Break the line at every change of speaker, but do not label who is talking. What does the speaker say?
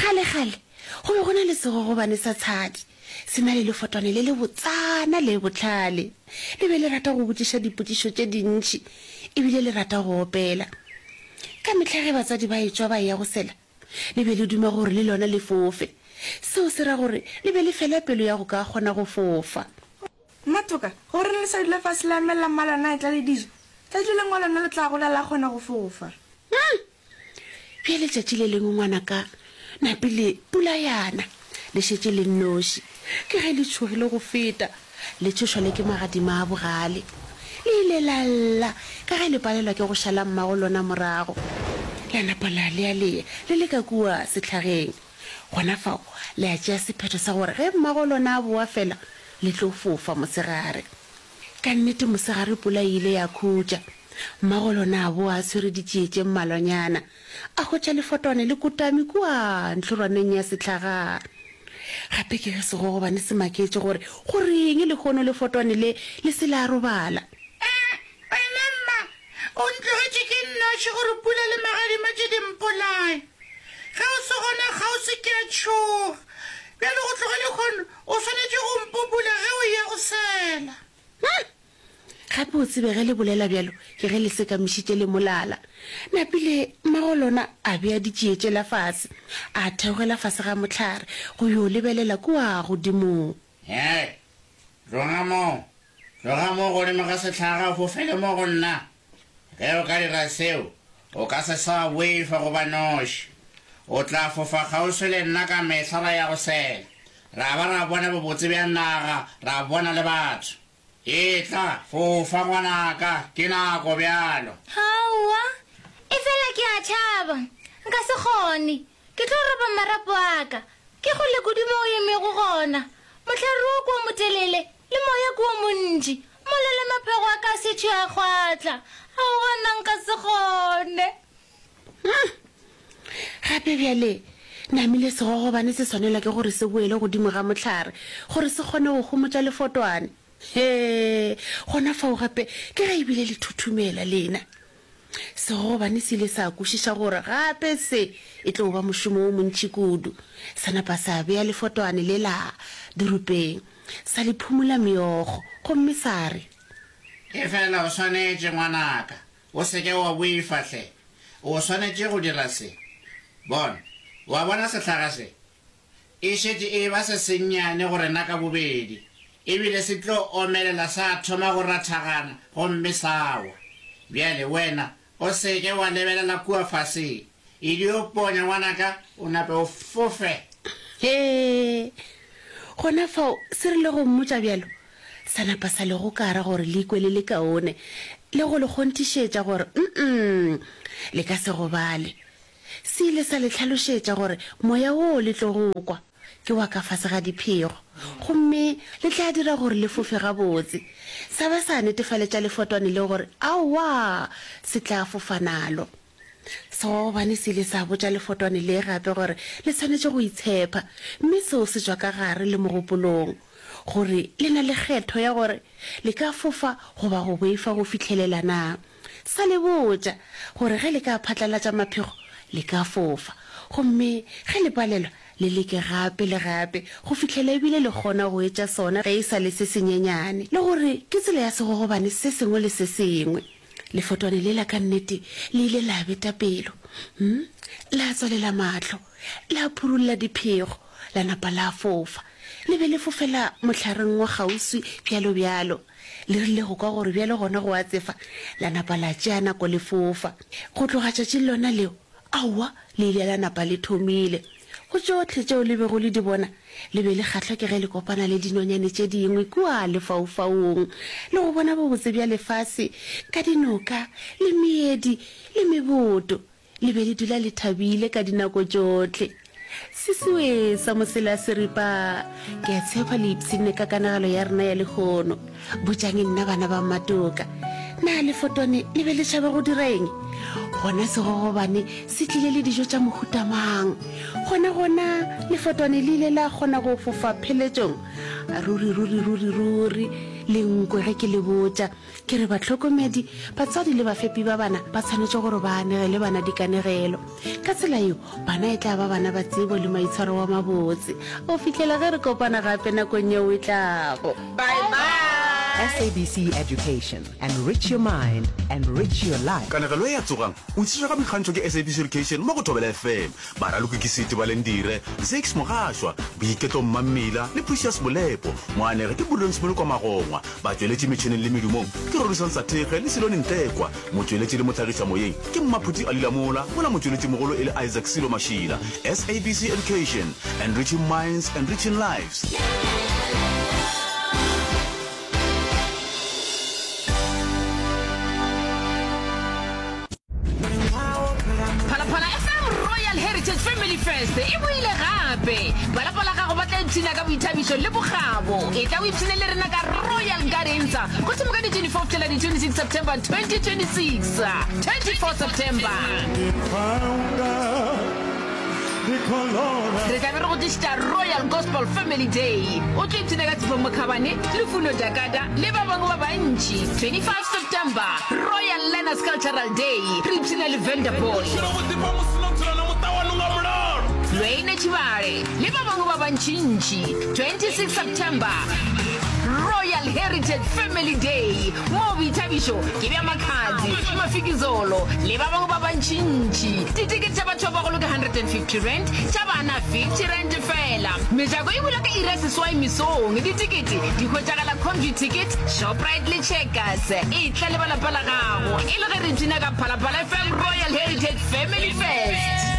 Kgalekgale go be go na le segogobane sa tshadi, se na le lefotwane le lebotsana le bohlale. Le be le rata go botšiša dipotšišo tše dintši e bile le rata go opela. Ka mehla ge batswadi ba etšwa ba eya go sela, le be le duma gore le lona le fofe. Seo se ra gore le be le fela pelo ya go ka kgona go fofa.
Mmatoka, goreng le sa dula fase la emelela mmalona a etla le dijo? Tšatši le lengwe lona le tla gola la kgona go fofa.
Hum! Bjale tšatši le lengwe ngwanaka, napile pula ya na, le šetše le nnoši. Ke ge le tšhogile go feta, le tšhošwa le ke magadima a bogale. Le ile la lla ka ge le palelwa ke go šala mmago lona morago. La napa la lealea le le ka kua sehlageng. Gona fao le a tšea sephetho sa gore ge mmago lona a boa fela, le tlo fofa mosegare. Ka nnete mosegare pula e ile ya khutša. Mmago lona a boa a tshwere ditšie tše mmalwanyana. A hwetša lefotwane le kotame kua ntlhorwaneng ya sehlaga. Gape ke ge segogobane se maketše gore go reng lehono lefotwane le le se la robala.
Ee, wena mma, o ntlogetše ke nnoši gore pula le magadima tše di mpolaye. Ge o se gona kgauswi ke a tšhoga. Bjale go tloga lehono o swanetše go mpopula ge o eya go sela.
Hum! Gape o tsebe ge le bolela bjalo ke ge le sekamišitše le molala. Napile mmago lona a bea ditšie tšela fase, a theogela fase ga mohlare go yo lebelela kua godimong.
Hei, tloga moo! Tloga moo godimo ga sehlaga o fofele mo go nna. Ge o ka dira seo, o ka se sa boifa go ba noši. O tla fofa kgauswi le nna ka mehla ra ya go sela, ra ba ra bona bobotse bja naga, ra bona le batho. Etla, fofa ngwanaka, ke nako bjalo.
Aowa, efela ke a tšhaba. Nka se kgone. Ke tlo roba marapo a ka. Ke kgole kudu mo o emego gona. Mohlare wo ke o motelele, le moya ke o montši. Mola le maphego a ka a šetše a kgwatla. Aowa, nna nka se kgone.
Hum! Gape bjale, namile segogobane se swanelwa ke gore se boele godimo ga mohlare gore se kgone go homotša lefotwane. Hee! Gona fao gape ke ge e bile le thuthumela lena. Segogobane se ile sa kwešiša gore gape se e tlo ba mošomo wo montši kudu. Sa napa sa bea lefotwane lela diropeng, sa le phumola meokgo gomme sa re.
Efela o swanetše, ngwanaka, O se ke wa boifa hle. O swanetše go dira se. Bona, o a bona sehlaga se? E šetše e eba se sennyane go rena ka bobedi, e bile se tlo omelela sa thoma go rathagana gomme sa wa. Bjale wena o se ke wa lebelela kua fase. E dio ponya, ngwanaka, o nape o fofe.
Hee! Gona fao se rile go mmotša bjalo, sa napa sa le gokara gore le ikwe le le kaone, le go le kgonthišetša gore mm le ka se gobale. Se ile sa le hlalošetša gore moya woo le tlogo o kwa ke wa ka fase ga diphego, gomme le tla dira gore le fofe gabotse. Sa ba sa netefaletša lefotwane le gore aowa, se tla fofa nalo. Segogobane se ile sa botša lefotwane le gape gore le swanetše go itshepa, mme seo se tšwa ka gare le mogopolong, gore le na le kgetho ya gore le ka fofa goba go boifa go fihlelela na. Sa le botša gore ge le ka phatlalatša maphego, le ka fofa, gomme ge le palelwa, le leke gape le gape go fihlela ebile le kgona go etša sona ge e sa le se senyenyane, le gore ke tsela ya segogobane se sengwe le se sengwe. Lefotwane lela ka nnete le ile la beta pelo, hm, la tswalela mahlo, la phurulla diphego, la napa la fofa. Le be le fofela mohlareng wa kgauswi bjalo bjalo. Le rile go kwa gore bjale gona go a tsefa, la napa la tšea nako le fofa. Go tloga tšatšing lona leo, aowa, le ile la napa le thomile. Go tšohle tšeo le bego le di bona, le be le kgahlwa ke ge le kopana le dinonyane tše dingwe kua lefaufaung le go bona bobotse bja lefase ka dinoka le meedi le meboto. Le be le dula le thabile ka dinako tšohle. Sesiwe sa mosela seripa, ke a tshepa le ipshinne ka kanegelo ya rena ya lehono. Botšang nna bana ba Mmatoka, na lefotwane le be le tšhaba go dira eng? Gona segogobane se tlile le dijo tša mohuta mang? Gona gona lefotwane le ile la kgona go fofa pheletšong? Ruri ruri ruri ruri! Le nkwe ge ke le botša ke re bahlokomedi, batswadi le bafepi ba bana ba tshwanetše gore ba anegele bana dikanegelo. Ka tsela yeo, bana e tla ba bana ba tsebo le maitshwaro wa mabotse. Go fihlela ge re kopana gape nakong yeo e tlago.
Bye bye.
SABC Education, enrich your mind, enrich your life.
Kanegelo ye ya Tsogang! O tlišwa ka boikgantšho ke SABC Education mo go Thobela FM. Baraloki ke Siti Balendire, Zakes Mogašwa, Boiketlo Mmammila le Precious Molepo. Moanegi ke Prudence Molokwa Magongwa. Batšweletši metšhineng le medumong ke Rorisang Sathekge le Silone Ntekwa. Motšweletši le mohlagišamoyeng ke Mmaphuti Ali Lamola mola motšweletšimogolo e le Isaac Silo Mašila. SABC Education, enriching minds, enriching lives.
Phalaphala FM Royal Heritage Family Fest e boile gape. Ba lapa la gago ba tla ipshina ka boithabišo le bokgabo. Etla o ipshine le rena ka Royal Gardens go thoma ka di 24 go fihlela di 26 September 2026. 24 September. Re tla be re go tlišetša Royal Gospel Family Day. O tlo ipshina ka Tshepo Mokhabane, Lufuno Dakada le ba bangwe ba bantši. 25 September, Royal Learners Cultural Day, re ipshina le Vanderpool. Lwayne Tshibale le ba bangwe ba bantšintši. 26 September, Royal Heritage Family Day, Moo boithabišo ke bja Makhadzi, Mafikizolo le ba bangwe ba bantšintši. Ditekete tša batho ba bagolo ke R150, tša bana R50 feela. Mejako e bula ka iri ya seswai mesong. Ditekete di hwetšagala Computicket, Shoprite le Checkers. Etla le ba lapa la gago e le ge re ipshina ka Phalaphala FM Royal Heritage Family Fest.